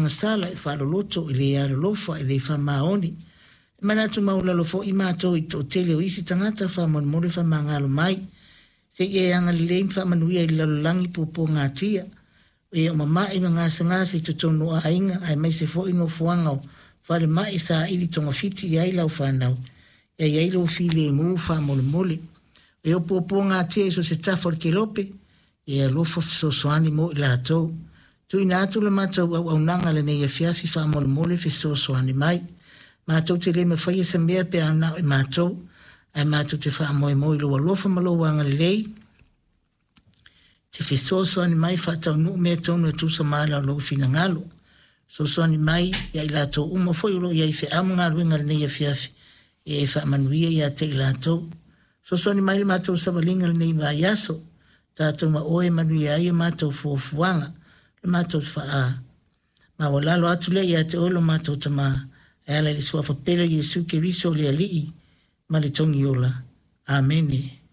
agasala, e faaloloto, e le alolofa, e le faamaoni. E manatu maualalo foi matou i le toatele o isi tagata faamolemole faamagalo mai. Se i e agalelei ma faamanuia i le lalolagi puapuagatia, o e o mama'i ma gasegase i totonu o aiga aemaise foi nofoaga o falemai e saili togafiti i ai lau fanau. Ia i ai lou filemu faamolemole. O e o puapuagatia i so o se tafa o le kelope, ia e alofa fesoasoani mo i latou. Tuuina atu le matou auaunaga lenei afiafi faamolemole fesoasoani mai. Matou te le mafaia se mea pe a na o i matou, ae matou te faamoemoe i lou alofa ma lou agalelei, te fesoasoani mai faataunuu mea tonu e tusa ma ala o lou finagalo. Fesoasoani mai ia i latou uma foi o lo o i ai i feau ma galuega i lenei afiafi, ia e faamanuia ia te i latou. Fesoasoani mai i le matou savaliga i lenei vaiaso, tatou ma oe e manuia ai a matou fuafuaga, le matou faa maualalo atu lea ia te oe lo matou Tama, e ala i le Suafa pele o Iesu Keriso le Alii ma le Togiola. Amene.